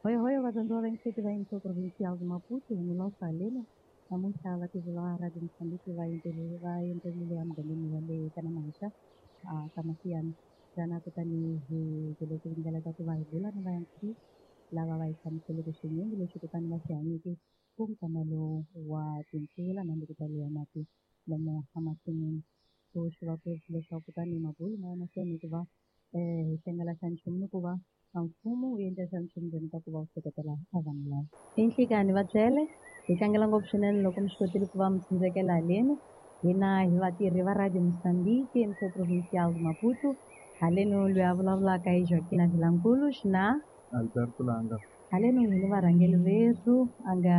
Hoyohoyo vadyondzi va vayingiseti va Info Provincial de Maputo hi Milosa Haleno namuntlha vatirhi va Radio Mozambique va va endzerile emugangeni wa le ka Namahaxa ka Mafiyana lana kutani hi byele tindlela ta ku va hi bula ni vayingiseri lava va hi hlamuseleke swinyingi leswi kutani va swi hanyeke ku nkamelo wa timpfula na ku taliwa mati lomu emasin'wini. So swi va ku leswaku kutani mabulu ma ya mahlweni hikuva hi hlengela xa nchumu ni ku va a mfumo wu endla xa nchumu ndzeni ka ku va wu seketela a vanhu lava. I nhlikani va byele hi tlangela ngopfu swinene loko mi swi kotile ku va mi tsindzekela haleni hina hi vatirhi va Radio Mozambique Info Provincial de Maputo haleno loyi a vulavulaka hi Joaquina Vilankulu xina Alberto Langa. Haleno hi ni varhangeri verhu a nga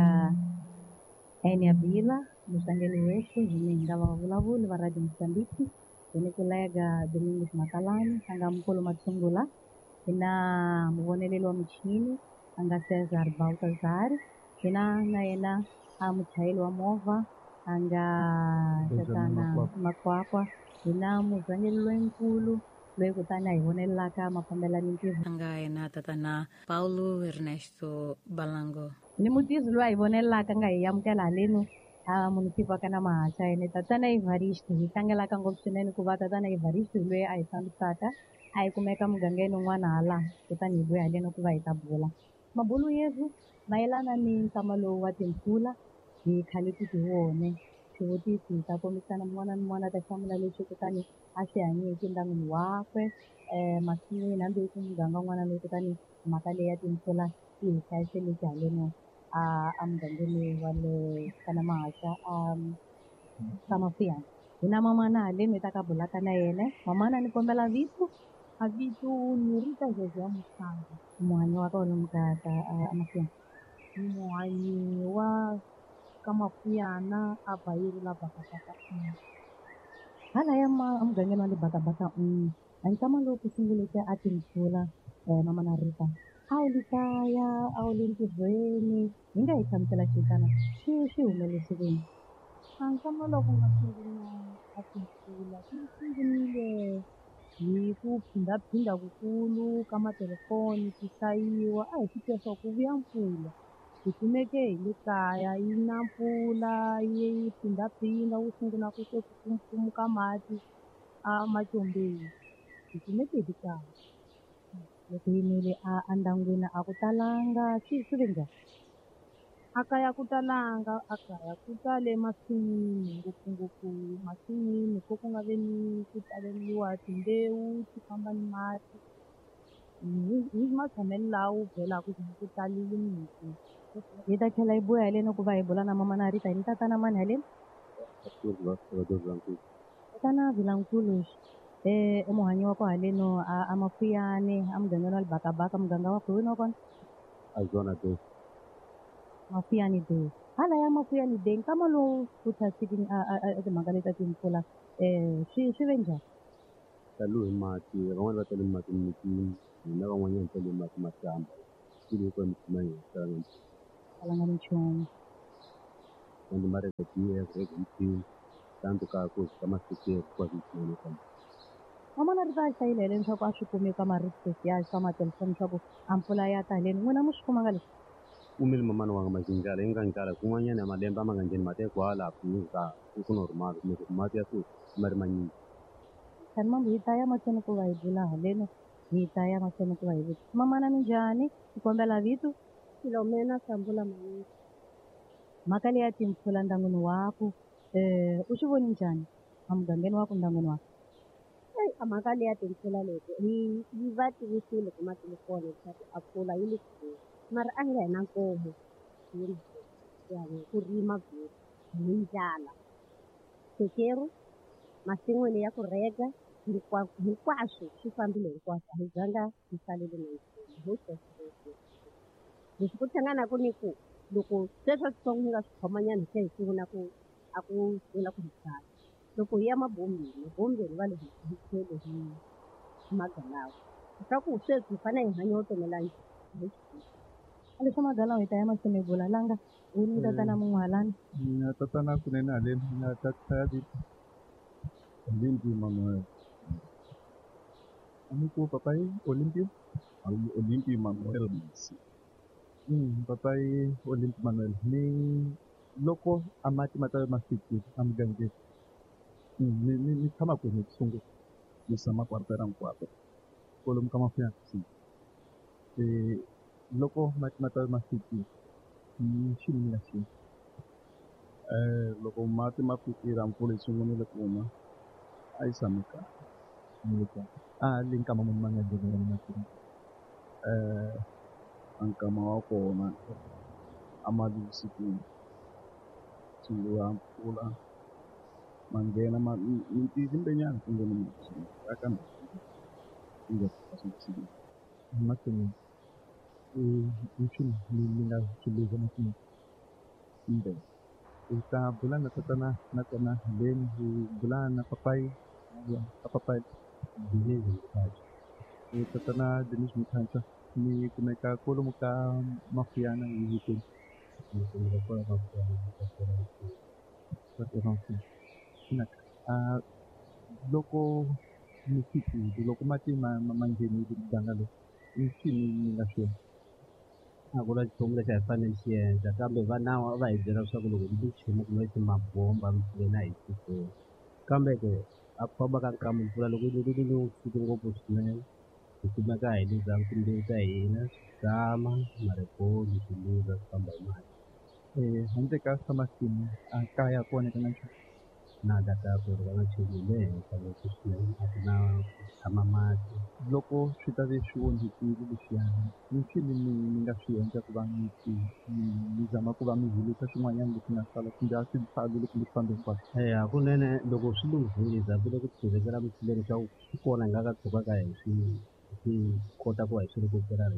Enia Bila murhangeri werhu hi ni hi nga vavulavuli va Radio Mozambique hi ni kolega Domingos Makalani a nga mukulu Mathungula hi na muvoneleli wa michini a nga Cesar Baltazar hi na na yena a muchayeri wa movha a nga Benjamin tatana Makwakwa. Makwakwa hi na murhangeri loyinkulu loyi kutani a hi vonelelaka mafambelano ntirho A nga yena tatana Paulo Ernesto Balango. Ni mutirhi loyi a hi vonelelaka nga hi amukela haleni a munisipa ka na Mahaxa yene tatana Evaristo hi tlangelaka ngopfu swinene ku va tatana Evaristo hi loyi a hi fambisaka a hi kumeka mugangeni un'wana hala kutani hi vuya haleni ku va hi ta bula mabulu yerhu mayelana ni nkama lowu wa timpfula hi khale ku ti wone swivutiso hi ta kombisana mun'wana na mun'wana a ta hlamula leswi kutani a swi hanyeke ndyangwini wakwe masin'wini hambi ku muganga wun'wana loyi kutani mhaka leyi ya timpfula yi hi hlayiseleke haleni a emugangeni wa le ka Namahaxa a ka Mafiyana hi na mamana haleni hi ta ka bulaka na yena mamana ni kombela vito. A vito ni Rita Zeze ya Musangi. Muhanyi wa ka wena ka a Mafiyana. Ni muhanyi wa ka Mafiyana a Bayeri la Bakabaka. Hala ya ma emugangeni wa le Bakabaka a nkama lowu ku sunguleke a timpfula mamana Rita a wu li kaya a wu le ntirhweni hi nga hi hlamusela xitana swi swi humelelise ku yini? A nkama lowu ku nga sungula a timpfula swi sungurile hi ku phindaphinda kukulu ka matelefoni ti hlayiwa a hi swi tiva swa ku vuya mpfula hi kumeke hi le kaya yi na mpfula yi phindaphinda wu sungula ku se ku pfumupfumuka mati a macombeni hi kumeke hi le kaya. Loko yimile a endyangwini a ku talanga swi swi ve njhani? A kaya ku talanga a kaya ku tale masin'wini ngopfungopfu masin'wini ko ku nga ve ni ku taleriwa timbewu ti famba ni mati hi matshamelo lawa byelaka ku ku talile miti. Hi ta tlhela hi buya haleni ku va hi bula na mamana Rita hi ni tatana mani haleni? Tatana Vilankulu i muhanyi wa ku haleni a a Mafuyane a mugangeni wa le Bakabaka muganga wa kwihi wa kona? Azona Day. Mafuyane Day. Hala ya Mafuyane Day nkama lowu ku tshasiki a timhaka leti ta timpfula swi swi ve njhani? Talo hi mati van'wani va tale mati mimitini hina van'wanyana tale mati mahlamba swilo hinkwenu mi hi talanga nchumu. Talanga nchumu. Ende mara BF mchini tanto ka ku ka masikeri kwa swinene kambe. Mamana Rita a hlayile haleni swa ku a swi kumi ka ma-resources ya swa matelefoni swa ku a mpfula ya ta haleni n'wina mu swi kumanga leswi? Kumile mamana wanga majinjala yi nga njala kun'wanyana ya malembe a ma nga ngheni mati ya kwala ku ku normal kumbe ku mati ya sweswi ma ri manyingi. Kani mambo hi ta ya mahlweni ku va hi bula haleni hi ta ya mahlweni ku va hi vutisa mamana minjhani hi kombela vito. Filomena Sambula Mayini. Mhaka leyi ya timpfula ndyangwini waku u swi voni njhani emugangeni wa ku ndyangwini waku? Eyi a mhaka leyi ya timpfula leti hi yi va tivisile ku matelefoni leswaku a mpfula yi le ku mara a nga hi na nkomu ya ku rima hi ndlala sekeru masin'wini ya ku rhega hinkwaswo swi fambile hinkwaswo a hi zanga hi salele na nchumu ho sweswo leswi ku hlanganaku ni ku loko sweswo switsongo hi nga swi khomanyana hi tlhela hi sungula ku a ku sungula ku hi byala loko hi ya mabombeni mabombeni va le hi tlhelo hi magalawa leswaku sweswi hi fanele hi hanya vutomi la njhani. Leswa magalawa hi ta ya mahlweni hi bula langa u ni tatana mun'we halani. Mina tatana kunene haleni mina tata vito Olimpio Manuel. Amico papai Olimpio? Olimpio Manuel Masi. Papai Olimpo Manuel ni loko a mati ma ta va ma fikile emugangeni ni tshama kwini ku sungula? Ni tshama kwartera Nkwapa. Kwalomu ka Mafuyana. Loko mati ma ta va ma fikile i xini mi nga xi endla? Loko mati ma fikile a mpfula yi sungurile ku na a yi tshame kahle. A le nkama muni ma nga nghena mati? A nkama wa kona a ma le vusikwini sungula mpfula ma nghena ma nyana ku nghene mati aka Masin'wini i swilo mi nga swi luza masin'wini? Kumbe Hi ta bula na tatana nakona then hi bula na papayi ka papayi Denise Mkhatshwa. Tatana Denise Mkhatshwa ni kumeka kwalomu ka Mafuyana hi hikweni. Ni kumeka kwala ka Mafuyana ka loko mi fikile loko mati ma nghenile muganga lowu i swini mi nga swi endla? A ku na nchumu lexi a hi fanele xi endla kambe va nawu a va hi byela leswaku loko mi nchumu kumbe mabomba mpfuleni a hi suseni kambe ke a ku famba ka nkama mpfula loko yi nile vusiku ngopfu swinene hi kumeka hi luza timbewu ta hina switlama mariboni swi luza swi famba hi mati. Handle ka swa masimu a kaya ku onhaka na nchumu? Na la kaya ku onhaka nchumu hi le henhla ngopfu swinene a ku na ku tshama mati. Loko swi ta ve swi onhakile leswiyani i ncini mi nga swi endla ku va mi zama ku va mi hilisa swin'wanyana leswi nga sala kumbe a swi salile kumbe swi fambe hinkwaswo? Hakunene loko swi lunghile hi zamile ku tshivelela mithileni leswaku swi kona hi nga ka tshukaka hi swi kota ku va hi swi rikuperela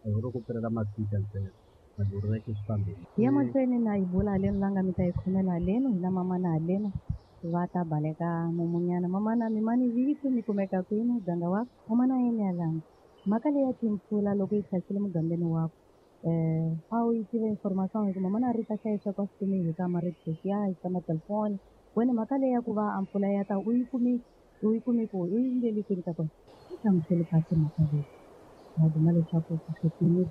hi ho rikuperela masita ntsena loko ri swi fambile. Hi ya mahlweni na hi bula haleni la nga mi ta yi khomela haleni hi na mamana haleni va ta baleka mumunyana. Mamana mi mani vito mi kumeka kwini muganga wa mamana yini yalanga mhaka leyi ya timpfula loko yi tlhasile mugangeni wakho a wu yi tiva information hi ku mamana ri ta hlayisa kwa swi kumi hi ka ma-radio ya hi ka ma-telephone wena mhaka leyi ya ku va a mpfula ya ta u yi kumi ku u yi ndleli kwini ka kona? Yi hlamusele kahle mhaka leyi va duma leswaku ku swi kumbe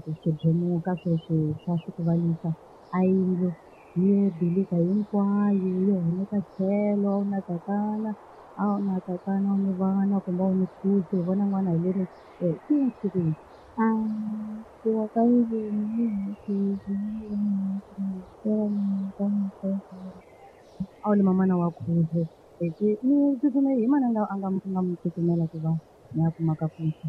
ku swidyemuka sweswi swa swi ku valisa a yindlu yo dilika hinkwayo yo humeka tlhelo a wu na tatana a wu na tatana a wu ni vana kumbe a wu ni khusi hi vona n'wana hi leri swi yini? Ku wa ka yindlu a wu ni mamana wa khuzi ni tsutsume hi mani a nga mi tsutsumela ku va ni ya kuma ka khuzi?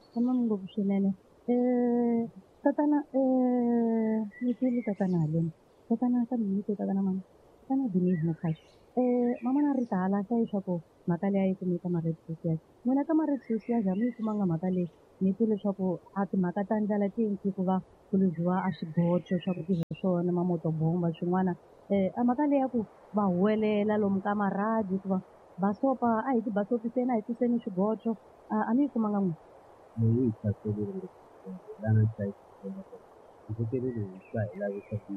Tshama ngopfu swinene. Tatana ni twile tatana haleni tatana kambe ni twe tatana mani tatana Denise Mokhashi. Mamana ri ta hala hlayi leswaku mhaka leyi a yi kumeka ma-red social. N'wina ka ma-red social a mi yi kumanga mhaka leyi ni twe leswaku a timhaka ta ndlala ti endli ku va ku luziwa a swigocho swa ku tirha swona mamotobomba swin'wana. A mhaka leyi ya ku va huwelela lomu ka marhadi ku va basopa a hi ti basopiseni a hi tiseni swigocho a mi yi kumanga n'wina? Leyi hi hlaserile ngopfu lana ndzi hi hi lavisa ku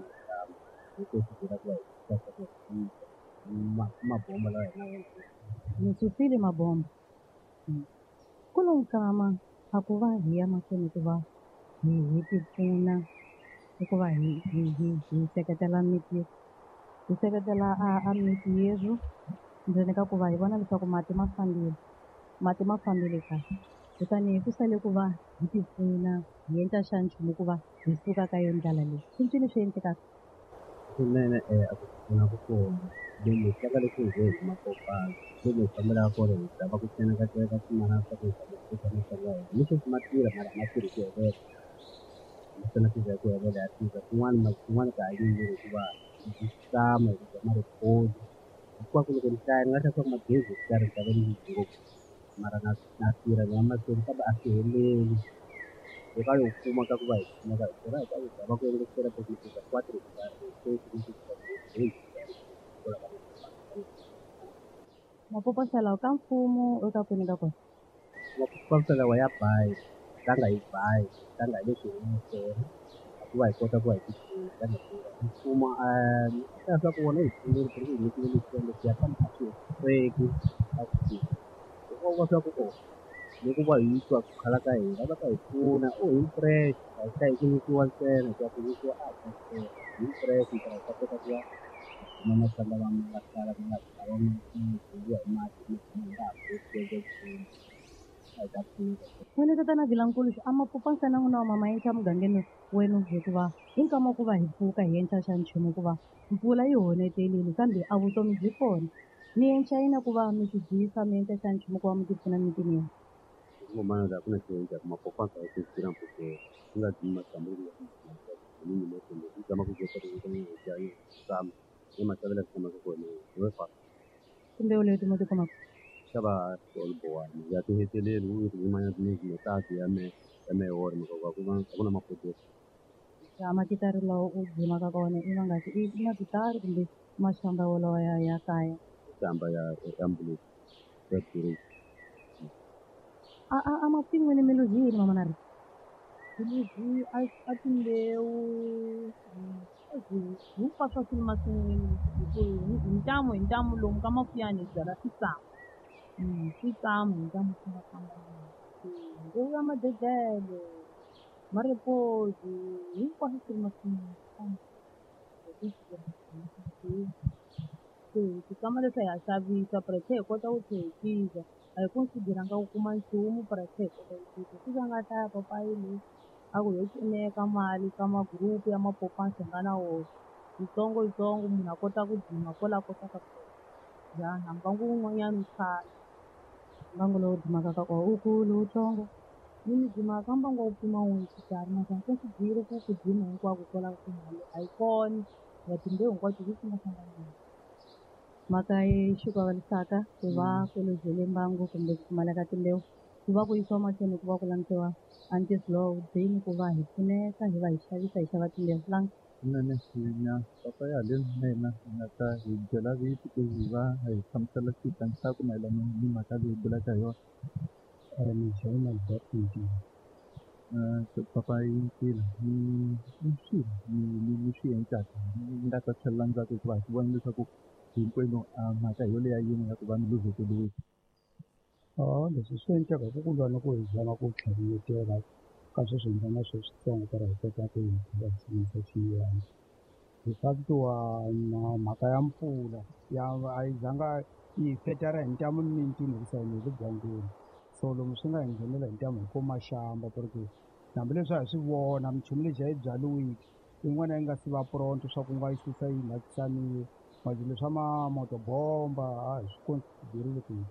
hi ku va hi mabomba lawa hi na Mi susile mabomba. Ku lo nkama a ku va hi ya mahlweni ku va hi ti pfuna i ku va hi seketela miti hi seketela a miti yerhu ndzeni ka ku va hi vona leswaku mati ma fambile mati ma fambile kahle kutani ku sale ku va hi ti pfuna hi endla xa nchumu ku va hi suka ka yo ndlala leyi i ncini swi endlekaka? Kunene a ku pfuna ku kona lomu hi tlanga leswi hi ze hi huma kopana lomu hi fambelaka kona hi zama ku tseneka swin'wana swa ku hi zama ku teka masangu ya hina ni sweswi ma tirha mara a ma tirhi ku helela naswona swi za ku helela ya tirha kun'wana kun'wana ka ha yimile hikuva hi tshama hi dya maripoli hinkwako loko ni hlaya ni nga hlaya swa ku magezi hi karhi ni ni ngopfu mara na tirha ni ya mahlweni kambe a swi heleli hi ka yo kuma ka ku va hi kumeka hi tirha hi ka ku zama ku engetela quatro Mapoposa lawa ka mfumo eka kwini ka kona? Mapoposa lawa ya bayi tlanga hi bayi tlanga hi leswi hi nga swona ku va hi kota ku va hi ti mfumo swa ku wona hi pfunile ku ri hi nyikile leswiya leswiya kambe a swi hetiseki a swi nkoka swa ku o loko va hi twa ku khala ka hina va ta hi pfuna o hi fresh a hi ta hi ku nyikiwa ntsena ku ya ku nyikiwa a hi hi fresh hi ta hi ta kota ku va kuma masanga lama nga sala ku nga lawa ma hi mati ma nga ha koti ku endla nchumu a hi ta pfuneka. N'wina tatana Vilankulu a ma pfuka ntsena n'wina wa mama yenca mugangeni wenu hikuva hi nkama ku va hi pfuka hi endla xa nchumu hikuva mpfula yi honetelile kambe a vutomi byi kona. Mi endla yini ku va mi tidyisa mi endla xa nchumu ku va mi tipfuna emitini ya Ngomana la kuna xiyenge kuma popaka hi ku tirha mpuke ku nga dyi matsambu ya ni zama ku kota ku ya tsama ni matavela tsama ku kona hi fa timbewu leti mi ti kumaka xava tolbowani ya ti heteleli wu ri yin'wana ni metasi ya me ya me wona mhaka ku va ku na mapodesi ya makitari lawa u dzimaka ka wona i mangaki i makitari kumbe maxamba wolawa ya ya kaya tsamba ya ya mbulu ya tiri a a a ma pfin'wini mi luzile mama na ri Miluzi a timbewu hinkwaswo swi ri masin'wini hi ku hi ntamu hi ntamu lomu ka mafuyani hi byala switsamu switsamu hi ntamu swi nga fambana mbewu ya madedele mariposi hinkwaswo swi ri masin'wini se switsama leswi hi ya xavisa but hi tlhe hi kota ku tlhe hi tisa a hi consider-anga ku kuma nchumu but hi tlhe hi kota ku tisa swi nga hlaya papayi leyi a ku ho pfuneka mali ka ma-group ya mapopani hi nga na wona yitsongo yitsongo munhu a kota ku dzima kwala a kotaka kona njhani mbangu wun'wanyana wu sala mbangu lowu dzimaka ka kona wu kulu wutsongo ni mi dzimaka mbangu wa ku pima n'we xikarhi naswona se swi byile ku ku dzima hinkwako kwalaho ku mali a yi kona ya timbewu hinkwato leti nga hlanganile mhaka yi xikavalisaka ku va ku luzile mbangu kumbe ku pfumaleka timbewu ku va ku yisiwa mahlweni ku va ku langutiwa antislow dzini ku va hi pfuneka hi va hi xavisa hi xava timbewu langa Kunene na papa ya haleni na yena hi nga ta hi byela vito ku hi va hi hlamusela switandzhaku mayelana ni mhaka leyi bulaka hi yona. Ni Albert Ntila. Papa yi ntila ni i swilo ni ni swi endlaka ni nga ta tlhelela ndzhaku hikuva hi swi vona leswaku hinkwenu a mhaka hi yoleya yin'we ya ku va mi luzekeriwile. Leswi swi endleka hi ku lwa na ku hi zama ku tlhavetela ka sweswi hi nga na swona switsongo ku ri hi kota ku hi hi sungurisa xiyimo. Hi fact wa na mhaka ya mpfula ya a yi zanga yi hi fetara hi ntamu mimitini hikusa hina hi le dzongeni so lomu swi nga hi nghenela hi ntamu hi ko maxamba ku ri ku hambileswi a hi swi vona minchumu lexi a yi byaliwile yin'wana yi nga si va pronto swa ku nga yi susa yi nghatisaniwe mati leswa mamotobomba a hi swi considerile ku hi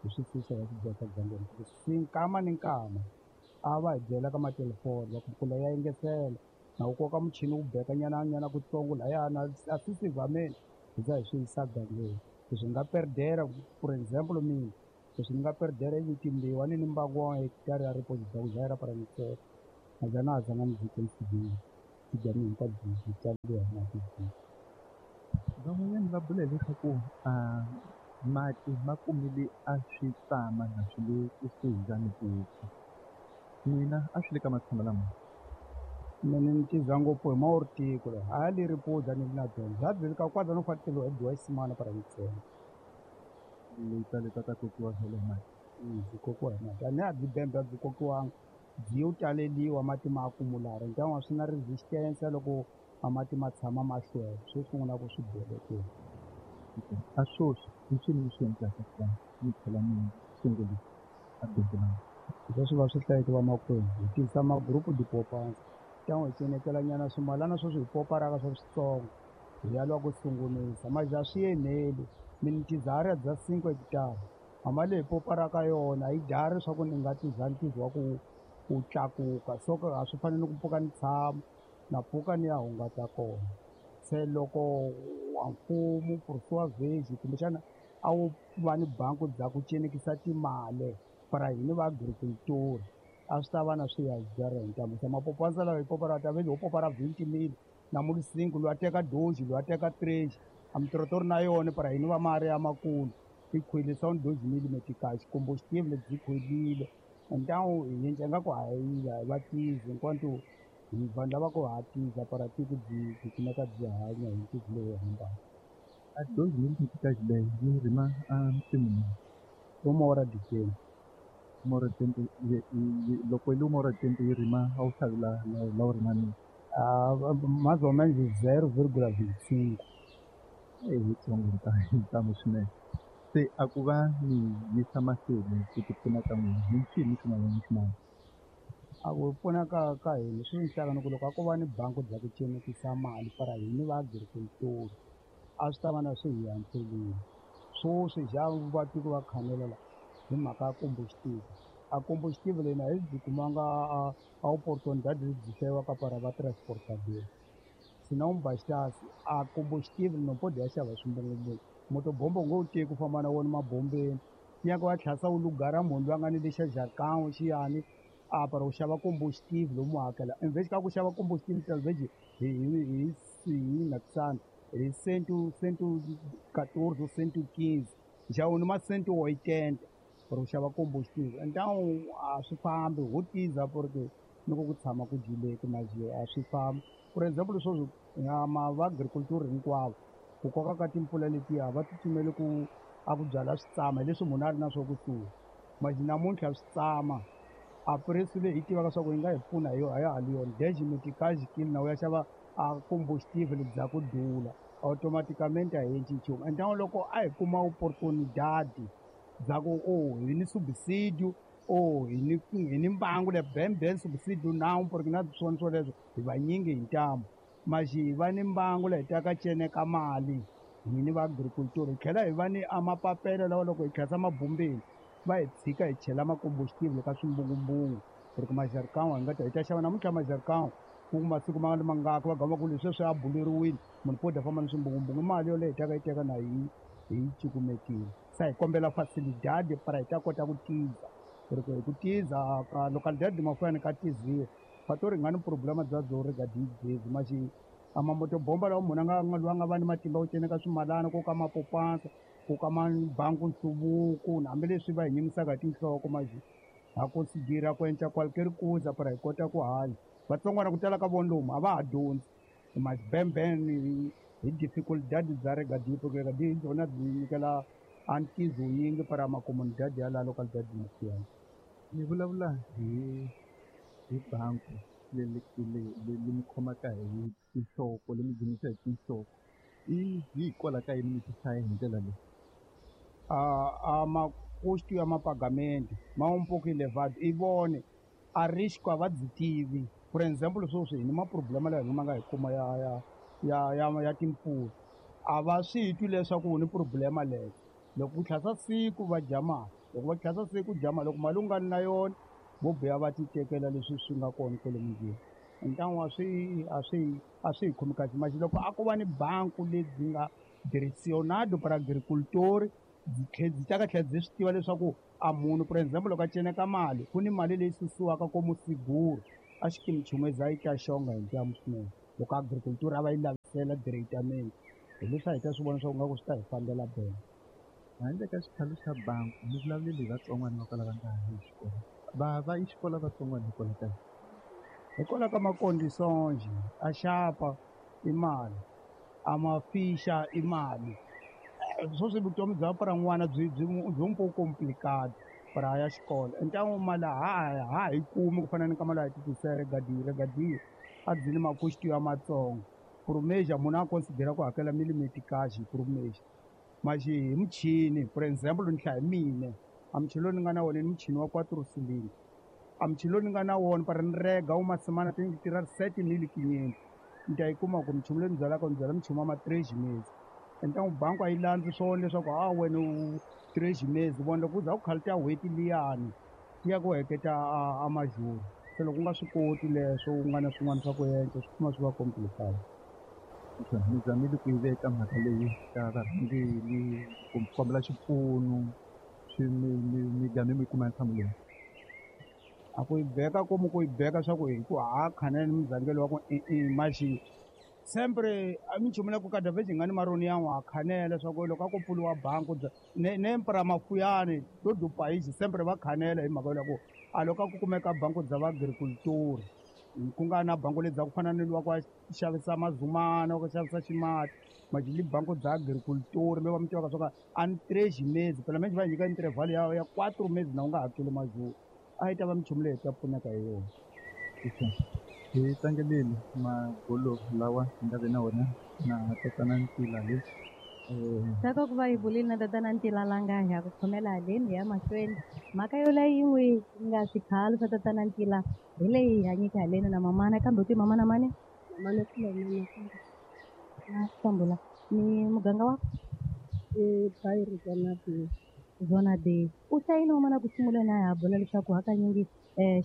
hi swi susa hi swi byeka dzongeni si nkama ni nkama a va hi byela ka matelefoni va ku mpfula ya engetela na wu koka muchini wu beka nyana nyana kutsongo lahayana a swi sivameni hi za hi swi yisa gangeni leswi nga perdera for example mina leswi ni nga perdera i timbewu a ni ni mbangu wa hekitara ya ripoti bya ku dlayela paramisela a za na ha zanga ni byi consider bya mina hinkwabyo byi tsariwa hi mati. Van'wanyana va vula leswaku mati ma kumile a swi tsama na swi le kusuhi ni ku fa. N'wina a swi le ka matshamba lama? Mina ni tiza ngopfu hi maortiko la a li ri pudza ni na byona bya byi ka kwadza no fateliwa hi biwa ximana para ntsena. Leta leta ta kokiwa vhele hi mati. Byi kokiwa hi mati a ni a byi bembe a byi kokiwanga byi yo taleliwa mati ma akumulara ntan'wa swi na resistance loko a mati ma tshama ma hlwela swo sungula ku swi belekela. A swoswi i ncini lexi endlaka ku va mi tlhela mi sungulisa a bindzu la Leswi va swi hlayeke vamakwenu hi tisa ma-group dipopanza ntan'we hi cinetela nyana swimalana sweswi hi poparaka swa switsongo hi ya lwa ku sungulisa manje a swi eneli mina tizahara bya cinco hekitara hama leyi poparaka yona yi dlari swa ku ni nga tiza ntizo wa ku ku tlakuka so a swi fanele ku pfuka ni tshama na pfuka ni ya hungata kona se loko wa mfumo purisiwa vheji kumbexana a wu va ni bangi bya ku cinekisa timali para hini va agriculture a swi ta va na swi ya byara hi ntamu se mapopanza lawa hi popara ta vele ho popara 20 000 na cinco loyi a teka doji loyi a teka trexi a mitirhotori na yona para hini va mari ya makulu yi khwelisa ni doji mili metikaxi kumbe xitivi lebyi khwelile Então hi endla nga ku hayi va tizi enquanto hi vanhu lava ku hatisa para tiko byi kumeka byi hanya hi ntiki lowu hambana. A 2 mil meticais leyi yi rima a nsimu uma hora de tempo. Uma hora de tempo loko yi uma hora de tempo yi rima a wu xavi la wu rima nini? Mais ou menos 0,25. I yitsongo ntamu swinene. Se a ku va mi yisa mahlweni ku ti pfuna ka n'wina hi ncini swin'wana na swin'wana? A ku pfuna ka hina swi ni ku loko a ko va ni bangi bya ku cenekisa mali para hina va agriculture a swi ta va na swi hi antswelini. Swoswi xa va tiko va khanela la hi mhaka ya combustible. A combustible leyi a hi byi kumanga a opportunidade lebyi hlayiwaka para va transportador. Senão bastasse a combustível não pode xava swimbungumbungu. Motobombo u nge wu teki u famba na wona mabombeni. Nyaka wa tlhasa wu lugara munhu loyi a nga ni lexa jarikão xiyani a para u xava combustível u mu hakela. Em vez ka ku xava combustível talvez hi nakusana hi 114 ou 115 nxavo ni ma 180 para u xava combustível. Então a swi fambi ho tiza porque loko ku tshama ku dyileki majiyo a swi fambi. For example sweswi va agriculture hinkwavo ku koka ka timpfula letiya va tsutsumele ku a ku byala switsama hi leswi munhu a ri na swo kusuhi. Manje namuntlha switsama a preço leyi hi tivaka swa ku yi nga hi pfuna hi yona a ya ha ri yona. 10 meticais quilo na u ya xava a combustível bya ku dula automaticamente a hi endli nchumu. Então loko a hi kuma oportunidade bya ku oh hi ni subsídio oh hi ni mbangu le bem bem subsídio não porque na swona swoleswo hi vanyingi hi ntamu. Mas hi va ni mbangu leyi taka ceneka mali hini va agriculture hi tlhela hi va ni a mapapelo lawa loko hi tlhasa mabombeni va hi tshika hi chela makombustible ka swimbungumbungu porque majarikão hi nga ta hi ta xava namuntlha majarikão ku masiku ma nga ri mangaki va gama ku leswi swi a buleriwile munhu pode a famba ni swimbungumbungu i mali yoleyo hi taka yi teka na hi cukumetile. Se hi kombela facilidade para hi ta kota ku tiza porque hi ku tiza ka localidade de Mafuane ka tiziwa fatori hi nga ni problema bya byo regadi gezi maxi a mamotobomba lawa munhu a nga loyi a nga va ni matimba ku ceneka swimalana ko ka mapopansa ku ka mabangu nhluvuko hambileswi va hi nyimisaka hi tinhloko maxi ha considera ku endla qualquer coisa para hi kota ku hanya. Vatsongwana ku tala ka vona lomu a va ha dyondzi mabemben hi dificuldade bya regadi porque regadi hi byona byi nyikela a ntizo yingi para macomunidade ya la localidade de Mafuane. Mi vulavula hi bangi leyi mi khomaka hi tinhloko leyi mi dzunisa hi tinhloko i hikwalaho ka yini mi ti hlaya hi ndlela leyi? A makusto ya mapagamento ma um pouco elevado i vone a risco a va byi tivi. For example sweswi hi ni maproblema lawa hi ma nga hi kuma ya timpfula a va swi twi leswaku ni problema leyo. Loko ku tlhasa siku va dya mali, loko va tlhasa siku dya mali, loko mali u nga ri na yona vo biha va ti tekela leswi swi nga kona kwale mundlwini. Então a swi hi khomi kahle. Manje loko a ko va ni banku lebyi nga direcionado para agricultor byi ta ka tlhela byi swi tiva leswaku a munhu for example loko a ceneka mali ku ni mali leyi susiwaka komu seguro a xikimi chumeza yi ta xonga hi ntamu swinene loko agriculture a va yi lavisela diretamente hi leswi a hi ta swi vona swa ku nga ku swi ta hi fambela bene. Handle ka xikhalu xa bangi mi vulavuleli hi vatsongwana va kwala va nga ha yi xikolo va yi xikolo vatsongwana hikwalaho ka yini? Hikwalaho ka macondições a xapa i mali a mafixa i mali. Sweswi vutomi bya para n'wana byi un pouco complicado para ya xikolo. Então mali ha hi kumi ku fana ni ka mali ya titisela regadi a byi ni makusto ya matsongo. Por mês munhu a considera ku hakela milimeticage por mês. Mas hi muchini for example ni hlaya hi mine a muchini lowu ni nga na wona ni muchini wa 4 cilindro. A muchini lowu ni nga na wona para ni rega wu masimana ti tirha 7500 ni ta yi kuma ku muchini lowu ni byalaka ni byala muchini wa ma 3 meses. Então bangi a yi landzi swona leswaku a wena u 3 meses vona loko u za ku khalita n'hweti liyani yi ya ku heketa a majuru. Se loko u nga swi koti leswo u nga na swin'wana swa ku endla swi kuma swi va complicated. Mi zamile ku yi veka mhaka leyi ka varhangeri ku kombela xipfuno swi mi game mi kuma nhlamulo leyi? A ku yi beka komu ku yi beka swa ku hi ku ha khanela ni muzangelo wa ku i maxi sempre a minchumu la ku kada vez hi nga ni maroni ya n'wa khanela swa ku loko a ku pfuriwa bangi ne para Mafuyane to do país sempre va khanela hi mhaka ya ku A loko a ku kumeka bango bya vaagriculture ku nga na bango lebyi ku fana ni luwa ku xavisa mazumana ku xavisa ximati majili bango bya agriculture mi va mi tivaka swa ku a ni três meses phela menjhe va hi nyika interval ya 4 meses na u nga hakeli majuru a yi ta va minchumu leyi hi ta pfuneka hi yona. Hi tlangelile mabulo lawa hi nga ve na wona na tatana Ntila le. Saka ku va hi bulile na tatana Ntila langa hi ya ku khomela haleni hi ya mahlweni mhaka yoleyo yin'we yi nga swikhalo swa tatana Ntila hi leyi hi hanyeke haleni na mamana kambe u ti mamana mani mamana Filomena na Sambula ni muganga wa Bairro Zona B. Zona B. U hlayile mamana ku sunguleni a ha bula leswaku hakanyingi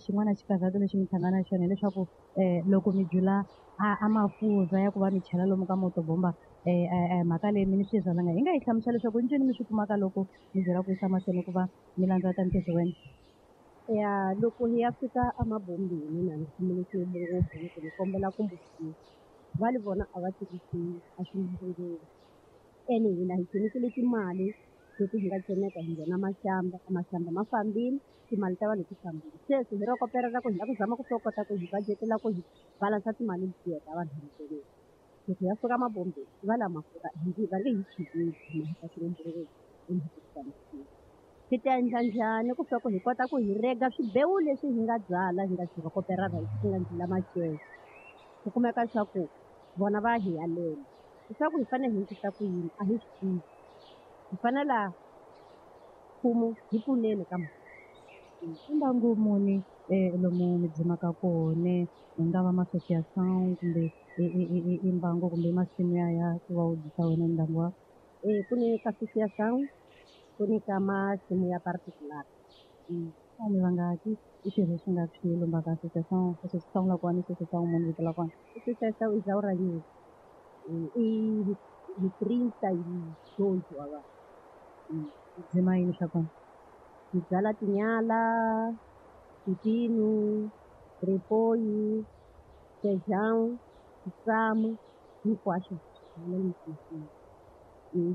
xin'wana xikarhato lexi mi hlangana na xona hileswaku loko mi jula a mafurha ya ku va mi chela lomu ka motobomba mhaka leyi mi ni swi zalanga hi nga yi hlamusela leswaku ncini mi swi kumaka loko mi byela ku yisa mahlweni ku va mi landza ta ntirho wena. Ya loko hi ya fika emabombeni na ni khomile ngopfu loko ni kombela ku pfuniwa va li vona a va tirhisi a swi ene hina hi nghenisile timali leti hi nga tsemeka hi nghena maxamba maxamba ma fambile timali ta vanhu ti fambile sweswi hi ro kopela ku hi lava ku zama ku swo kota ku hi budget-ela ku hi balansa timali letiya ta vanhu hi loko ya fika mabombeni va la mafurha hi va nge hi chiveli hina hi ta swi ta endla njhani ku swa ku hi kota ku hi rega swibewu leswi hi nga byala hi nga swi rhokoperana hi nga ndlela macele ku kumeka leswaku vona va hi alela leswaku hi fanele hi endlisa ku yini a hi swi tivi hi fanela mfumo hi pfuneni ka mhaka. I mbangu muni lomu mi dzimaka kona hi nga va ma-association kumbe i mbangu kumbe masimu ya ku va u dyisa wena ndyangu wa ku ni ka association ku ni ka masimu ya particular. Vanhu vangaki i swirho swi nga swi lomba ka association association la kona association munhu vito la kona association i Zaura News i hi 32 wa vanhu. Dzima yini swa kona? Hi byala tinyala, pipino, ripoyi, feijão, tsamu hinkwaswo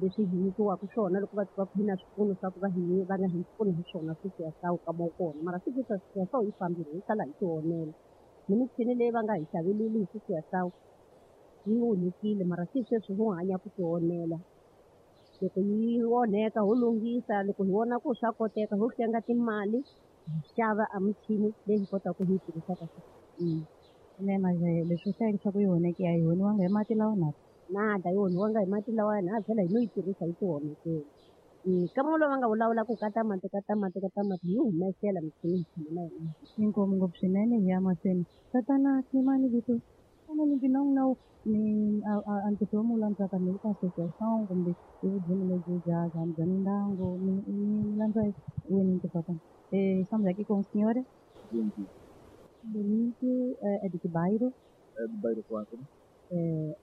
leswi hi nyikiwaka swona loko va va hi na swipfuno swa ku va hi va nga hi pfuni hi swona swisiyasawu ka mo kona mara swisiyasawu yi fambile hi sala hi tionela ni michini leyi va nga hi xaveleli hi swisiyasawu yi onhekile mara se sweswi ho hanya ku tionela loko yi onheka ho lunghisa loko hi vona ku swa koteka ho hlenga timali hi xava a michini leyi hi kotaka ku hi yi tirhisaka. Nene leswi u hlayeke swa ku yi onheke a yi onhiwanga hi mati lawa na nada yi onhiwanga hi mati lawa na vhela hi no yi tirhisa yi tionhekela. Ka lowu va nga vulavula ku ka tamati ka tamati ka tamati hi yi humesela michini hi tshama na yona. Inkomu ngopfu swinene hi ya mahlweni tatana Kimani vito xana ni na ni a ntirho lowu mi wu landzaka mi ka association kumbe i vudzimi lebyi bya mindyangu mi landza wini ntirho wa kona. Estamos aqui com o senhor Benito, é de que bairro? É do bairro 4. É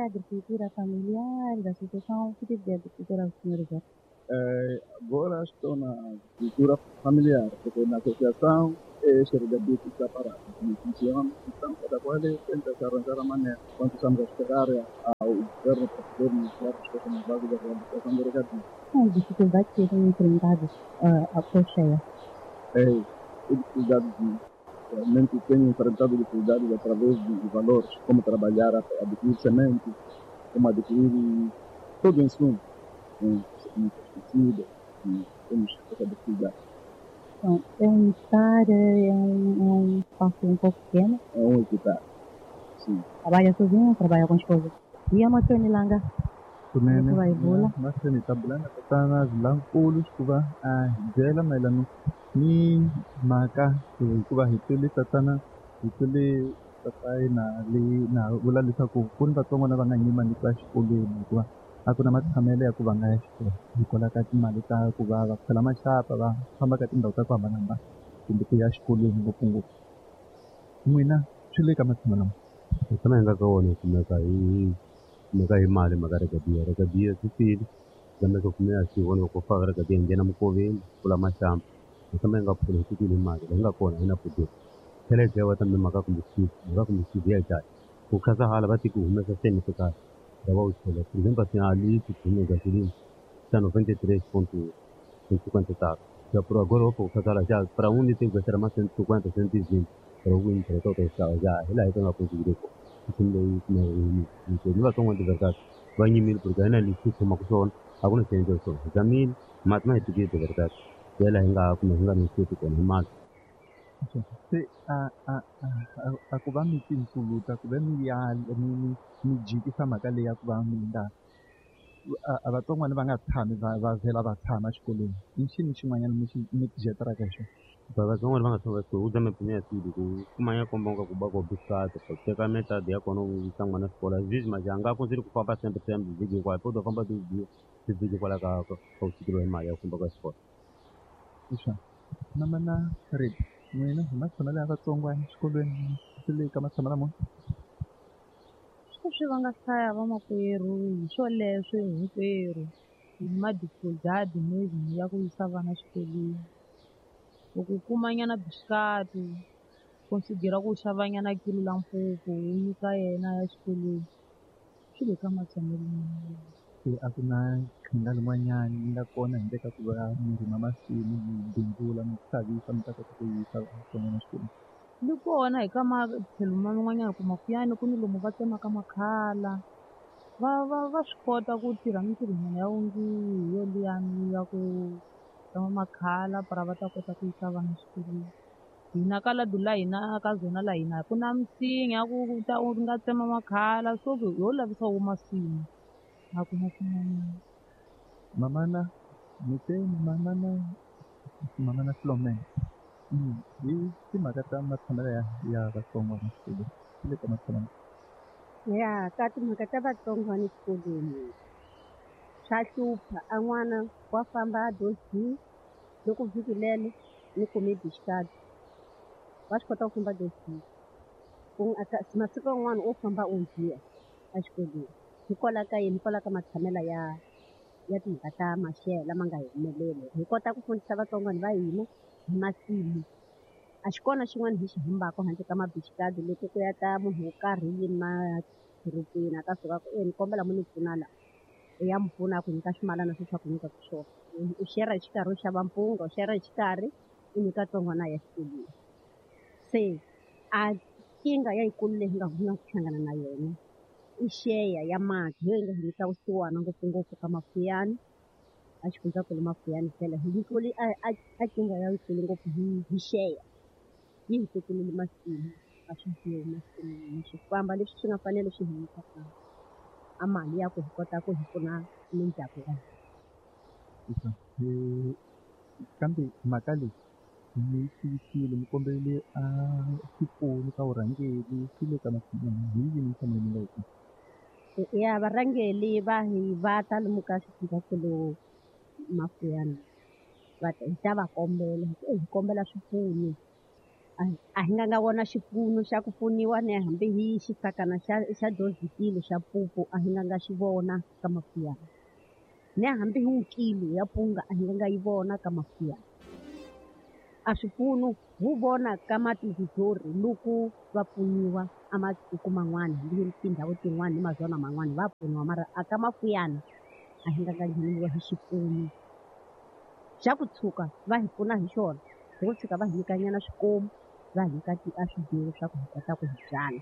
agricultura familiar, da associação, que tipo de agricultura o senhor já? Agora estou na agricultura familiar, porque na associação este regabito está parado, não funciona, então cada qual tenta se arranjar a maneira. Quando estamos a esperar ao governo para poder nos dar resposta na base da reabilitação do regabito. Qual a dificuldade que tem enfrentado a cheia? É dificuldade de realmente tenho enfrentado dificuldades através de valores, como trabalhar, adquirir semente, como adquirir todo o insumo, pesticida, e temos essa dificuldade. Então, é um hectare, é um espaço um pouco pequeno? É um hectare, sim. Trabalha sozinho ou trabalha com a esposa? E a Matrone Langa? Kunene vai vula? Mahlweni ta bula na tatana Zilankulu ku va a hi byela mayelana ni mhaka hikuva hi twile tatana hi twile papayi na leyi na vula leswaku ku ni vatsongwana va nga nyima ni ku ya xikolweni hikuva a ku na matshamelo ya ku va nga ya xikolo hikwalaho ka timali ta ku va va phela maxapa va famba ka tindhawu ta ku hambanahambana kumbe ku ya xikolweni ngopfungopfu. N'wina swi le ka matshamo lama hi tshama hi nga ka wona hi kumeka hi mali mhaka regadiya regadiya swi file lameka kumeka swi vona loko faka regadiya nghena mukoveni pfula maxamba hi tshama hi nga pfula hi tikile mali leyi nga kona yi na pfudeli tlhela yi dlayiwa tambe mhaka kumbe swivi mhaka kumbe swivi ya dlaya ku khasa hala va tiki humesa seni swo karhi va wu chela por exemplo assim ali se tinha gasolina está 93.54 Já por agora eu vou já para onde tem que ser mais 150, 120 para o winter todo está já ela é uma conseguir isso não vai tomar de verdade vai mil porque ainda lhe como que são alguns têm de são zamil mas mais de verdade ela ainda como ainda não sei com mais se a ku va mi tinsuluta ku ve mi ya mi jikisa mhaka leyi ya ku va mi nga a vatsongwana va nga tshami va vhela va tshama exikolweni i xini xin'wanyana mi tijeteraka hi xona? Vatsongwana va nga tshama exikolweni u zame pimela swilo ku kumanya komba nga ku ba ko bisata ku teka metadi ya kona u yisa n'wana xikolo azizwi majanga ku ndzi ku famba sembe sembe vhiki hinkwayo po to famba tivhiki kwala ka ka u tikeriwa hi mali ya ku famba ka xikolo. Mana Fred, n'wina hi matshamelo ya vatsongwana exikolweni swi le ka matshamelo mo? Sweswi va nga hlaya vamakwerhu hi swoleswo hinkwerhu hi madificultad maybe ya ku yisa vana xikolweni. Loko u kumanyana bisikati considera ku xavanyana kilo la mpupu u nyika yena ya xikolweni swi le ka matshamelo. Se a ku na qhinga lin'wanyani yi nga kona handle ka ku va mi rima masimu mi bindzula mi xavisa mi ta kota ku yisa vatsongwana exikolweni? Li kona hi ka matlhelo man'wanyana ku mafuyani ku ni lomu va tsemaka makhala va swi kota ku tirha mintirhonyana ya wungiwi yo liyani ya ku tsema makhala para va ta kota ku yisa vana exikolweni. Hina ka ladu la hina ka zona la hina ku na misinya ku ta u nga tsema makhala so ku ho lavisa wo masimu a ku na swin'wanyana. Mamana mi te mamana Flomena hi timhaka ta matshamelo ya vatsongwana exikolweni swi le ka matshamelo ya ka timhaka ta vatsongwana exikolweni swa hlupha a n'wana wa famba a dozini loko vhiki lelo ni kume bisikati wa swi kota ku famba dozini masiku yan'wana u famba u biha exikolweni hikwalaho ka yini hikwalaho ka matshamelo ya timhaka ta maxelo lama nga hi humeleli hi kota ku fundisa vatsongwana va hina hi masimu a xi kona xin'wana hi xi humbaka handle ka mabisikati loko ku ya ta munhu wo karhi yini madorobeni a ta suka ku e ni kombela mu ni pfuna la u ya mu pfuna ku nyika swimalana sweswi a ku nyikaka swona u shera hi xikarhi u xava mpunga u xera hi xikarhi u nyika tsongwana ya xikolweni se a nkingha yayikulu leyi nga nga ku hlangana na yona i xeya ya mati hi yo yi nga hi nyika vusiwana ngopfungopfu ka mafuyani a xifundzankulu mafuyani tlhela hi nyikiwile a nkingha yayikulu ngopfu hi xeya yi hi tekelele masimu a swi bihi masin'wini swi famba leswi swi nga fanele swi hi nyika a mali ya ku hi kota ku hi pfuna mindyangu ya hina. Kambe mhaka leyi mi tivisile mi kombelele a xipfuno ka vurhangeri swi le ka matshamelo hi yini nhlamulo mi nga yi kuma? Ya varhangeri va hi va ta lomu ka xifundzankulu Mafuyana va ta hi ta va kombela hi kombela swipfuno a hi nga nga vona xipfuno xa ku pfuniwa ni hambi hi xisakana xa dozikilo xa mpupu a hi nga nga xi vona ka Mafuyana ni hambi hi kilo ya mpunga a hi nga nga yi vona ka Mafuyana a swipfuno wu vona ka matizizori loko va pfuniwa a matiko man'wana hambi tindhawu tin'wana ni mazona man'wana va pfuniwa mara a ka Mafuyana a hi nga nga ngheniwa hi xipfuno xa ku tshuka va hi pfuna hi xona hi ku tshuka va hi nyikanyana swikomu va hi nyika a swibiwo swa ku hi kota ku hi byala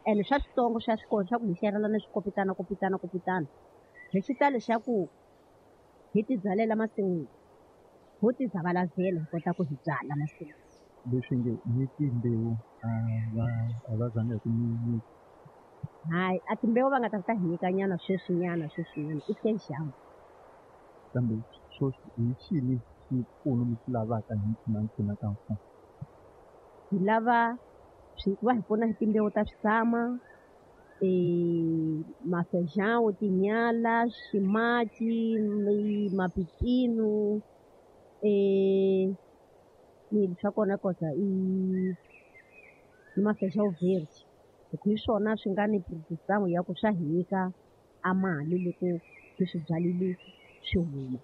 ene swa switsongo swa swikolo swa ku hi xerelana na swikopitana kopitana kopitana hi xitalo xa ku hi tibyalela masin'wini ho tizavalazela hi kota ku hi byala masin'wini. Leswi nge ni timbewu a va zanga hi ku mi hayi a timbewu va nga ta hi nyikanyana sweswinyana sweswinyana i fejamu. Kambe sweswi hi xini xipfuno mi xi lavaka hi mpfuna ka mfumo? Hi lava va hi pfuna hi timbewu ta swisama mafejawu tinyala ximaci mapipino swa kona kota i mafejawu verde hi ku hi swona swi nga ni produce ya ku swa hi nyika a mali loko hi swi byalile swi huma.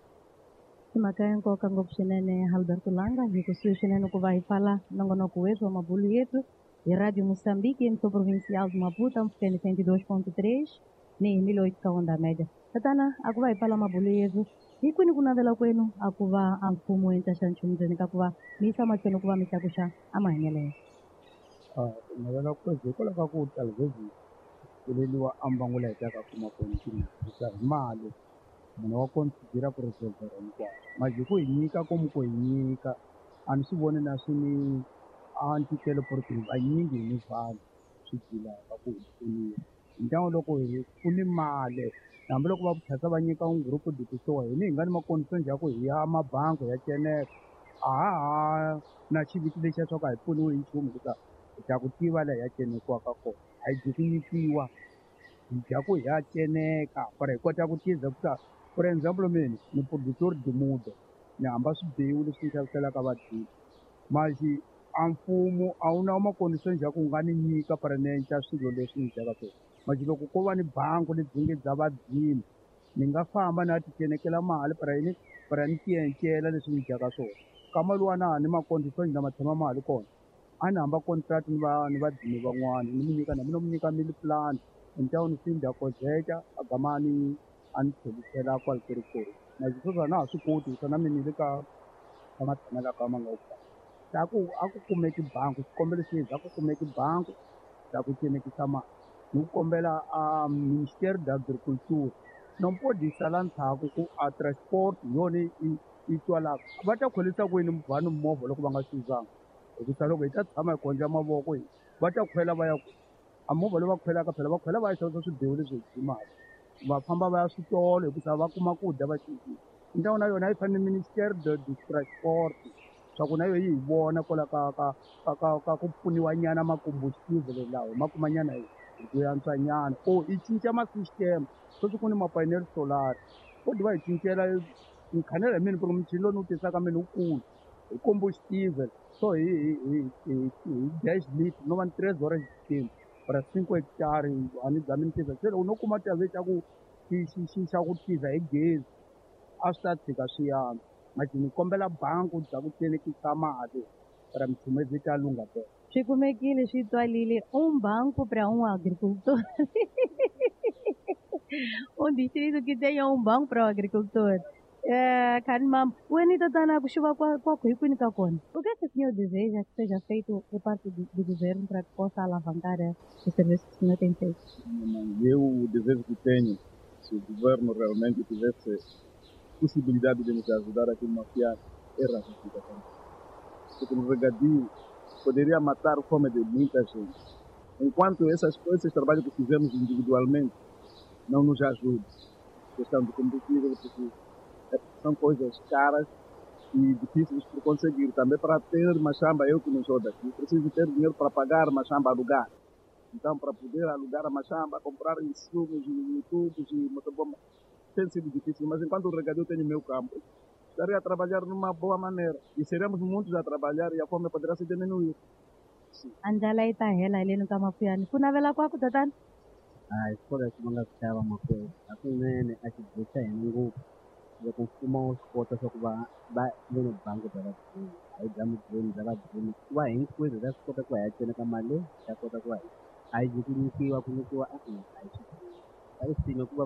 I mhaka ya nkoka ngopfu swinene Alberto Langa hi kusuhi swinene ku va hi pfala nongonoko wethu wa mabulu yetu hi Radio Moçambique emissão provincial de Maputo mpfukeni 102.3 ni hi 1008 ka onda média. Tatana a ku va hi pfala mabulu yetu Hi kwini ku navela kwenu a ku va a mfumo wu endla xa nchumu ndzeni ka ku va mi yisa mahlweni ku va mi tlakuxa a mahanyelo? Ku navela kwetu hikwalaho ka ku talvez pfuleliwa a mbangu laha hi taka kuma kona timali hi mali munhu wa considera ku resolver hinkwaswo manje ku hi nyika komu ku hi nyika a ni swi voni na swi ni a ntikelo porque vanyingi hi ni vanhu swi dilaka ku hi pfuniwa hi ntlangu loko hi ku ni mali hambiloko va tlhela va nyika un group de kusuhi hini hi nga ni makondition ya ku hi ya mabangi ya ceneka a ha ha na xiviti lexiya swa ku a hi pfuniwi hi nchumu hikuva hi ta ku tiva laha hi ya cenekiwaka kona a hi dyi ku nyikiwa hi dya ku hi ya ceneka para hi kota ku tiza ku ta for example mina ni producer dimudo ni hamba swibewu leswi ni xaviselaka vadyi maxi a mfumo a wu na makondition ya ku nga ni nyika para ni endla swilo leswi ni dyaka swona maxi loko ko va ni bangi lebyi nge bya vadzimi ni nga famba ni ya ti cenekela mali para yini para ni ti encela leswi ni dyaka swona kama luwa na ni makondition lama tshama mali kona a ni hamba contract ni va ni vadzimi van'wana ni mu nyika na mina mu nyika meal plan ni ni finda kozeka a gama ni a ni tlherisela kwale ku ri kona maxi sweswi a na ha swi koti hikuva na mina ni le ka matshamelo ka ma nga wu kahle a ku a ku kumeki bangi xikombelo xi a ku kumeki bangi ya ku cenekisa mali ni ku kombela a ministère d'agriculture non pode sala ndzhaku ku a transport hi yona yi twalaka va ta khwelisa ku yini vanhu movha loko va nga swi yuzanga hikusa loko hi ta tshama hi khondla mavoko hi va ta khwela va ya ku a movha lowu va khwelaka phela va khwela va ya xavisa swibewu leswi hi dzimaka va famba va ya switolo hikusa va kuma ku dya va cincile ndhawu na yona yi fanele ministère de transport swa ku na yona yi hi vona kwala ka ku pfuniwa nyana makombuxivhele lawa ma kuma nyana hi ku antswa nyana or yi cinca ma-system sweswi ku ni ma-panel solar vo va hi cincela ni khanela hi mina ku ri muchini lowu ni wu tisaka mina wukulu hi combustible so hi dash lit no va ni tres horas xiteam para 5 hectare a ni zami ni tiva se loko no kuma tave xa ku xi xa ku tiza hi gezi a swi ta tshika swi antswa manje ni kombela bangi bya ku cenekisa mali para michumu ta lungha tena. Swi kumekile swi twalile banco para agricultor. Um distrito que tenha um banco para o agricultor. É, Karimam, o tatana ku xuva kwaku hi kwini ka kona. O que é que o senhor deseja que seja feito por parte do governo para que possa alavancar o serviço que o senhor tem feito? Eu, o desejo que tenho, se o governo realmente tivesse possibilidade de nos ajudar aqui no Mafiar, era a também. Porque no regadio poderia matar a fome de muita gente. Enquanto essas coisas, esses trabalhos que fizemos individualmente, não nos ajudam. Questão de combustível, porque são coisas caras e difíceis de conseguir. Também para ter machamba, eu que não sou daqui, preciso ter dinheiro para pagar machamba alugar. Então, para poder alugar a machamba, comprar insumos e tubos e motobomba, tem sido difícil. Mas enquanto o regadio tem o meu campo, estaria a trabalhar numa boa maneira. E seremos muitos a trabalhar e a fome poderá se diminuir. A ndlala yi ta hela hi leni ka Mafuyani. Ku navela kwaku tatana? Hayi swikolo leswi va nga swi xava makwerhu hakunene a xibye xa hina ngopfu loko mfumo wu swi kota swa ku va ve ni bangi bya vadzimi hayi bya mudende bya vadzimi ku va hinkwenu hi ta swi kota ku va hi ya ceneka mali leyi hi ta kota ku va hi a yi ku nyikiwa e-e a hi swi va yi ku va.